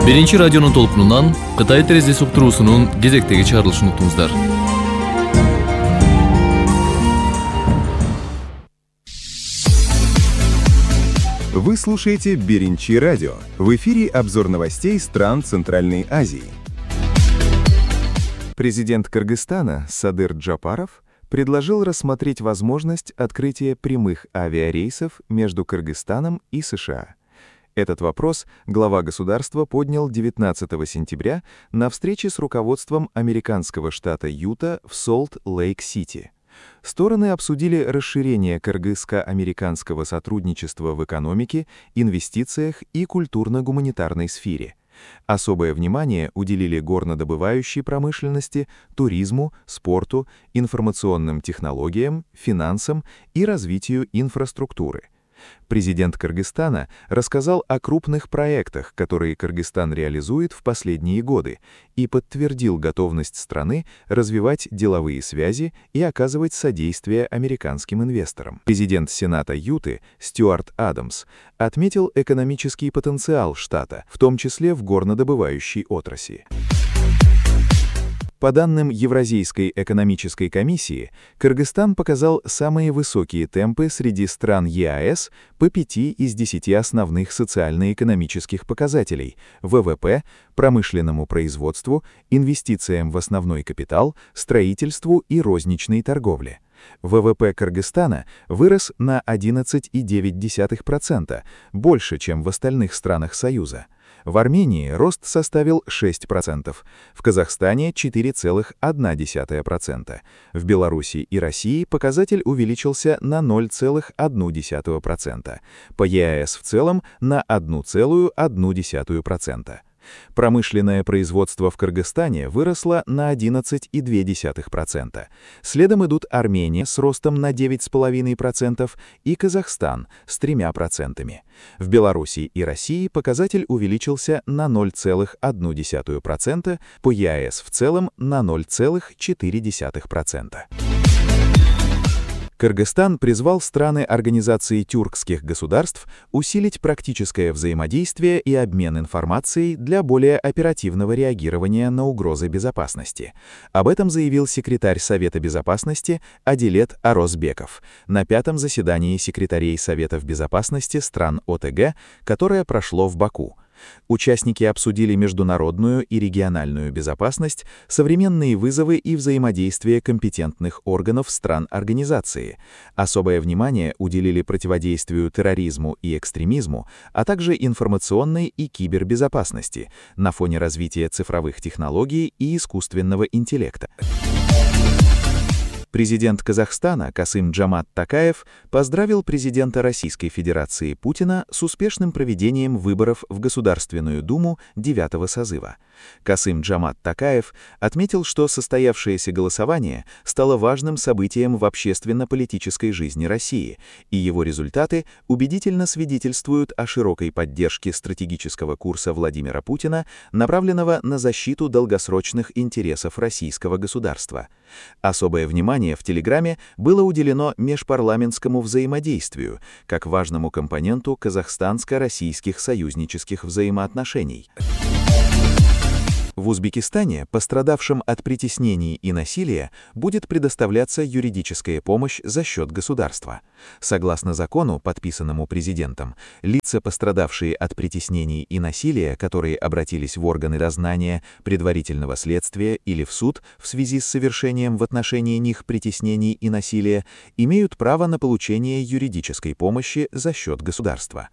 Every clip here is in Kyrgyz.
Биринчи радионун толкунунан Кытай терезеси уктуруусунун кезектеги чыгарылышын уктуңуздар. Вы слушаете Биринчи радио. В эфире обзор новостей стран Центральной Азии. Президент Кыргызстана Садыр Джапаров предложил рассмотреть возможность открытия прямых авиарейсов между Кыргызстаном и США. Этот вопрос глава государства поднял 19 сентября на встрече с руководством американского штата Юта в Солт-Лейк-Сити. Стороны обсудили расширение кыргызско-американского сотрудничества в экономике, инвестициях и культурно-гуманитарной сфере. Особое внимание уделили горнодобывающей промышленности, туризму, спорту, информационным технологиям, финансам и развитию инфраструктуры. Президент Кыргызстана рассказал о крупных проектах, которые Кыргызстан реализует в последние годы, и подтвердил готовность страны развивать деловые связи и оказывать содействие американским инвесторам. Президент Сената Юты Стюарт Адамс отметил экономический потенциал штата, в том числе в горнодобывающей отрасли. По данным Евразийской экономической комиссии, Кыргызстан показал самые высокие темпы среди стран ЕАЭС по 5 из 10 основных социально-экономических показателей – ВВП, промышленному производству, инвестициям в основной капитал, строительству и розничной торговле. ВВП Кыргызстана вырос на 11,9%, больше, чем в остальных странах Союза. В Армении рост составил 6%, в Казахстане – 4,1%, в Беларуси и России показатель увеличился на 0,1%, по ЕАЭС в целом на 1,1%. Промышленное производство в Кыргызстане выросло на 11,2%. Следом идут Армения с ростом на 9,5% и Казахстан с 3%. В Беларуси и России показатель увеличился на 0,1%, по ЕАЭС в целом на 0,4%. Кыргызстан призвал страны Организации тюркских государств усилить практическое взаимодействие и обмен информацией для более оперативного реагирования на угрозы безопасности. Об этом заявил секретарь Совета Безопасности Адилет Орозбеков на 5-м заседании секретарей Советов Безопасности стран ОТГ, которое прошло в Баку. Участники обсудили международную и региональную безопасность, современные вызовы и взаимодействие компетентных органов стран организации. Особое внимание уделили противодействию терроризму и экстремизму, а также информационной и кибербезопасности на фоне развития цифровых технологий и искусственного интеллекта. Президент Казахстана Касым-Джомарт Токаев поздравил президента Российской Федерации Путина с успешным проведением выборов в Государственную Думу 9-го созыва. Касым-Джомарт Токаев отметил, что состоявшееся голосование стало важным событием в общественно-политической жизни России, и его результаты убедительно свидетельствуют о широкой поддержке стратегического курса Владимира Путина, направленного на защиту долгосрочных интересов российского государства. Особое внимание в Телеграме было уделено межпарламентскому взаимодействию, как важному компоненту казахстанско-российских союзнических взаимоотношений. В Узбекистане пострадавшим от притеснений и насилия будет предоставляться юридическая помощь за счет государства. Согласно закону, подписанному президентом, лица, пострадавшие от притеснений и насилия, которые обратились в органы дознания, предварительного следствия или в суд в связи с совершением в отношении них притеснений и насилия, имеют право на получение юридической помощи за счет государства.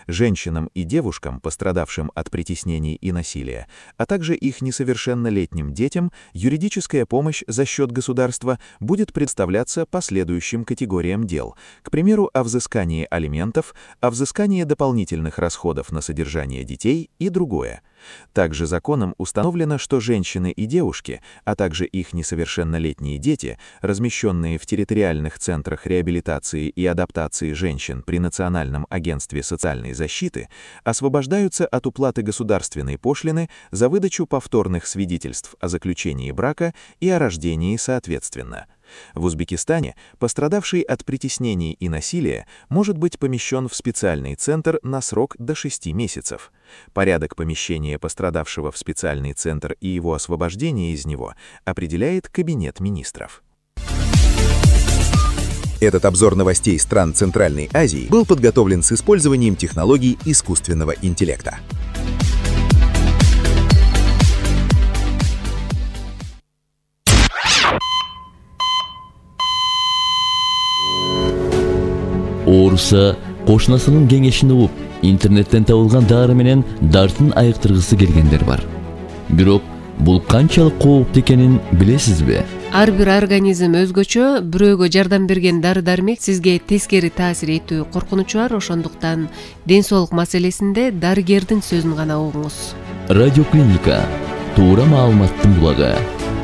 Женщинам и девушкам, пострадавшим от притеснений и насилия, а также их несовершеннолетним детям, юридическая помощь за счет государства будет представляться по следующим категориям дел, к примеру, о взыскании алиментов, о взыскании дополнительных расходов на содержание детей и другое. Также законом установлено, что женщины и девушки, а также их несовершеннолетние дети, размещенные в территориальных центрах реабилитации и адаптации женщин при Национальном агентстве социальной защиты, освобождаются от уплаты государственной пошлины за выдачу повторных свидетельств о заключении брака и о рождении соответственно. В Узбекистане пострадавший от притеснений и насилия может быть помещен в специальный центр на срок до 6 месяцев. Порядок помещения пострадавшего в специальный центр и его освобождения из него определяет Кабинет министров. Этот обзор новостей стран Центральной Азии был подготовлен с использованием технологий искусственного интеллекта. Ооруса кошунасынын кеңешин угуп, интернеттен табылган дары менен дартын айыктыргысы келгендер бар. Бирок бул канчалык кооптуу экенин билесизби? Ар бир организм өзгөчө, бирөөгө жардам берген дары-дармек сизге тескери таасир этүү коркунучу бар, ошондуктан ден соолук маселесинде дарыгердин сөзүн гана угуңуз. Радиоклиника туура маалыматтын булагы.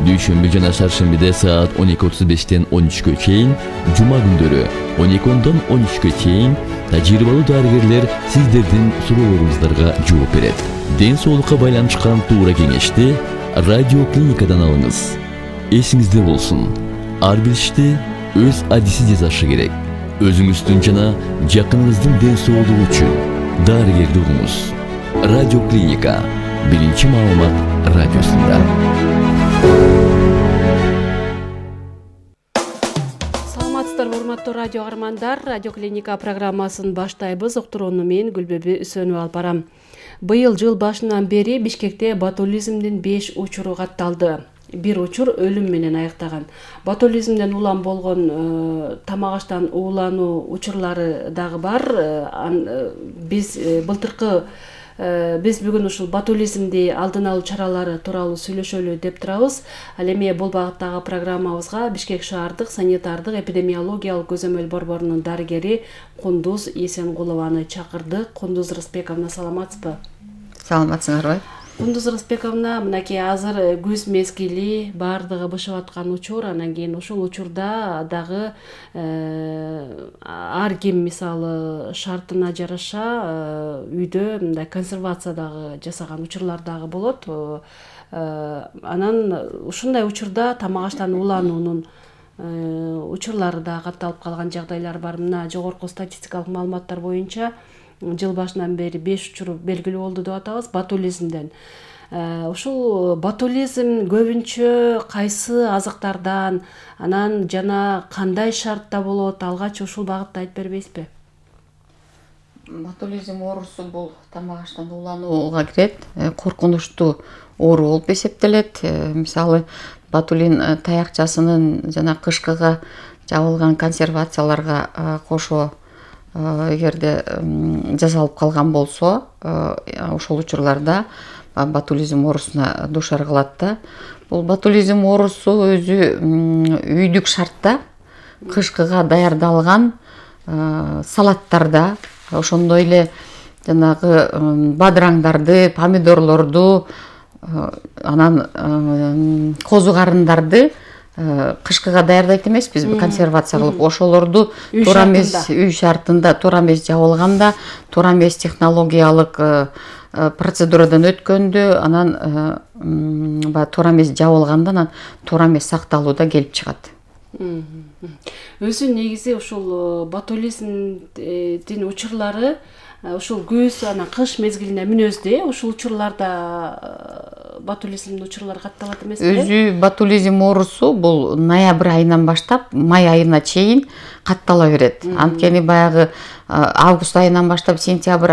Дүйшөмбү жана шаршембиде саат 12:35-тен 13-кө чейин, жума күндөрү 12-дон 13-кө чейин тажрыйбалуу дарыгерлер сиздердин суроолоруңуздарга жооп берет. Ден соолукка байланышкан туура кеңешти радиоклиникадан алыңыз. Эсиңизде болсун, ар бир ишти өз адиси жасашы керек. Өзүңүздүн жана жакыныңыздын ден соолугу үчүн дарыгерди угуңуз. Радиоклиника биринчи маалымат радиосунда. Саламатсыздарбы, урматтуу радио каармандар. Радиоклиника программасын баштайбыз. Уктурууну мен Гүлбөбү Үсөнүп алып барам. Быйыл жыл башынан бери Бишкекте ботулизмдин 5 учуру катталды. Бир учур өлүм менен аяктаган. Ботулизмден улам болгон тамак аштан уулануу учурлары дагы бар. Биз бүгүн ушул ботулизмди алдын алуу чаралары тууралуу сүйлөшөлү деп турабыз. Ал эми бул багыттагы программабызга Бишкек шаардык санитардык эпидемиологиялык көзөмөл борборунун дарыгери Кундуз Эсенгулованы чакырдык. Кундуз Рысбековна, саламатсызбы? Саламатсыңарбы? Кундуз Рысбековна, мынакей азыр күз мезгили, баардыгы бышып аткан учур, анан кийин ушул учурда дагы ар ким мисалы шартына жараша үйдө мындай консервациядагы жасаган учурлар дагы болот. Анан ушундай учурда тамак аштан уулануунун учурлары да катталып калган жагдайлар бар. Мына жогорку статистикалык маалыматтар боюнча жыл башынан бери 5 учур белгилүү болду деп атабыз ботулизмден. Ушул ботулизм көбүнчө кайсы азыктардан, анан жана кандай шартта болот? Алгач ушул багытта айтып бербейсизби? Ботулизм оорусу бул тамак аштан ууланууга кирет. Коркунучтуу оору болуп эсептелет. Мисалы, ботулин таякчасынын жана кышкыга жабылган консервацияларга кошо эгерде жасалып калган болсо, ошол учурларда ботулизм оорусуна дуушар кылат да. Бул ботулизм оорусу өзү үйдүк шартта кышкыга даярдалган салаттарда, ошондой эле жанагы бадыраңдарды, помидорлорду, анан козу карындарды кышкыга даярдайт эмеспизби, консервация кылып, ошолорду туура эмес үй шартында, туура эмес жабылганда, туура эмес технологиялык процедурадан өткөндө, анан туура эмес жабылганда, анан туура эмес сакталууда келип чыгат. Өзү негизи ушул ботулизмдин учурлары ушул күз, анан кыш мезгилине мүнөздүү, ушул учурларда ботулизмдин учурлары катталат эмеспи? Өзү ботулизм оорусу бул ноябрь айынан баштап май айына чейин каттала берет. Анткени баягы август айынан баштап сентябрь,